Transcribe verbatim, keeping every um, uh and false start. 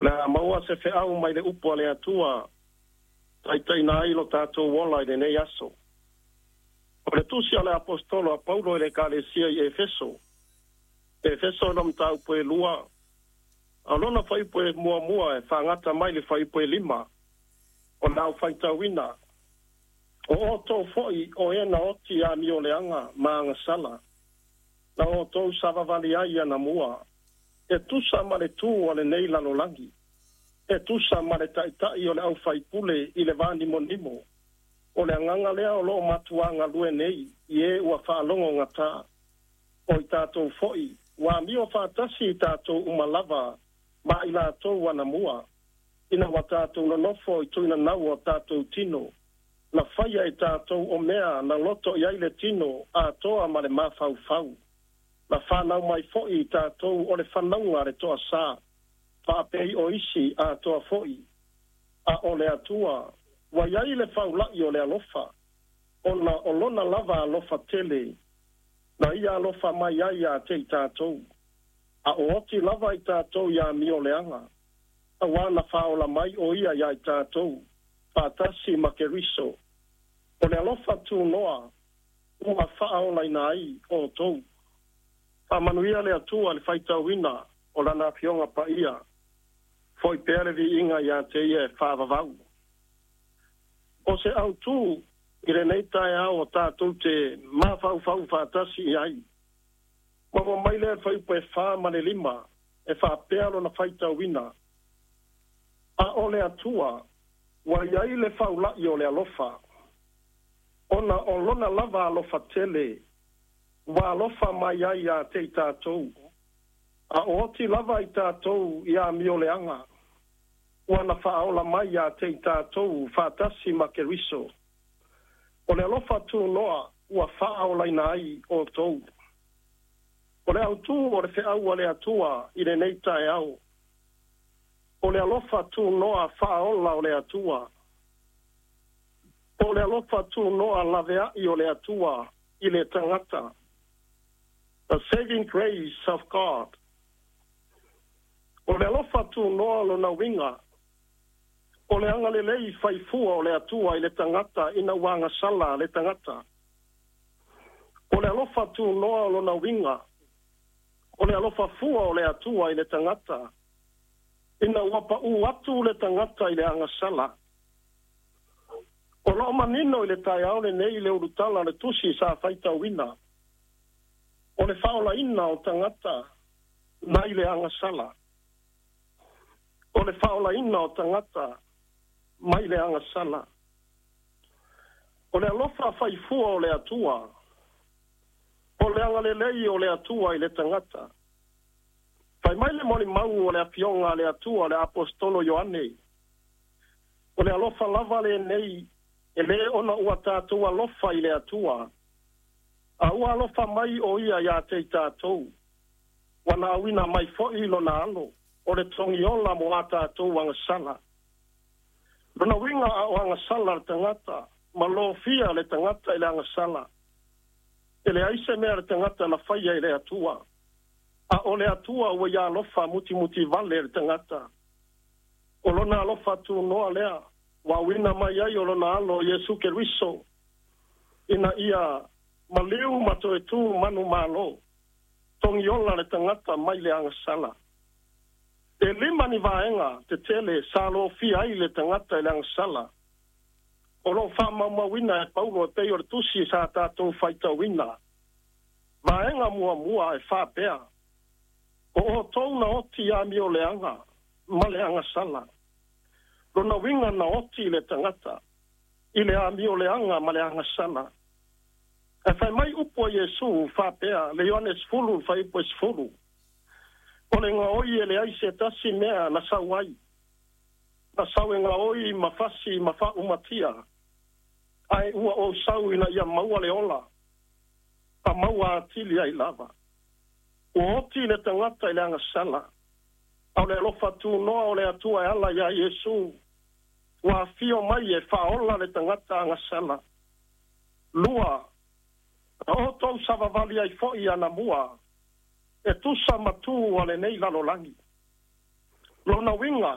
Le a maua se feau mai le upu a le Atua taitaiina ai lo tatou ola i lenei aso. O le tusi a le Aposetolo a Paulo i le Ekalesia i Efeso, Efeso e mataupu e lua, a o lona fuaiupu e muamua e faagata mai le fuaiupu e lima, o le a ou faitauina. O outou foi o e na oti i amioleaga ma agasala, na outou savavali ai anamua, e tusa ma le tu a lenei lalolagi, e tusa ma le taitai o le aufaipule i le vanimonimo, o le agaga lea o loo matuagalue nei i e ua faalogogata. O i tatou foi ua amio faatasi i tatou uma lava ma i latou anamua, ina ua tatou nonofo i tuinanau o tatou tino, na faia e tatou o mea na loto i ai le tino atoa ma le mafaufau. Na fanau mai foi i tatou o le fanauga a le toasā, faapei o isi atoa foi. A o le Atua ua i ai le faula'i o le alofa, ona o lona lava alofa tele, na ia alofa mai ai ia te i tatou. A o oti lava i tatou i amioleaga, auā na faaola mai o ia iā i tatou, faatasi ma Keriso. O le alofa tunoa ua faaolaina ai outou. Faamanuia le Atua i le faitauina o Lana Afioga Paia, foi pea le viiga ia te Ia e faavavau. O se autū i lenei taeao o tatou te mafaufau faatasi i ai. Maua mai lea le fuaiupu e fa ma le lima e faapea lona faitauina. A o le Atua ua i ai le faula'i o le alofa, ona o lona lava alofa tele, ua alofa mai ai ia te i tatou. A o oti lava i tatou i amioleaga, ua na faaola mai ia te i tatou faatasi ma Keriso. O le alofa tunoa ua faaolaina ai outou. O le autū o le feau a le Atua i lenei taeao, o le alofa tunoa faaola o le Atua. O le alofa tunoa laveai o le Atua i le tagata. The saving grace of God. O le alofa tunoa lona uiga, o le agalelei faifua o le Atua i le tagata ina ua agasala le tagata. O le alofa tunoa lona uiga, o le alofa fua o le Atua i le tagata, ina ua paʻū atu le tagata i le agasala. O loo manino i le taeao lenei le ulutala o le tusi sa faitauina, o le faaolaina o tagata mai le agasala. O le faaolaina o tagata mai le agasala. O le alofa faifua o le Atua, o le agalelei o le Atua i le tagata. Fai mai le molimau o le afioga a le Atua le Aposetolo Ioane, o le alofa lava lenei e lē ona ua tatou alofa i le Atua, a ua alofa mai o ia iā te i tatou, ua na auina mai foi lona alo, o le togiola mo a tatou agasala. Lona uiga a o agasala le tagata, ma lofia le tagata i le agasala. E leai se mea le tagata na faia i le Atua, a o le Atua ua ia alofa mutimutivale le tagata. O lona alofa tunoa lea, ua auina mai ai o lona alo Iesu Keriso, ina ia maliu ma toe tu manumalo, togiola le tagata mai le agasala. E lima ni vaega tetele sa lofia ai le tagata i le agasala. O loo faamaumauina e Paulo e pei o le tusi sa tatou faitauina. Vaega muamua e faapea, o outou na oti i amioleaga ma le agasala. Lona uiga na oti le tagata i le amioleaga ma le agasala. E fai mai upu a Iesu faapea, le Ioane sefulu fuaiupu e sefulu. O le gaoi e leai se tasi mea na sau ai. Na sau e gaoi ma fasi ma faaumatia. Ae ua ou sau ina ia maua le ola, a maua atili ai lava. Ua oti le tagata i le agasala. A o le alofa tunoa o le Atua e ala iā Iesu, ua afio mai e faaola le tagata agasala. Lua, na outou savavali ai foi anamua, e tusa ma tu a lenei lalolagi. Lona uiga,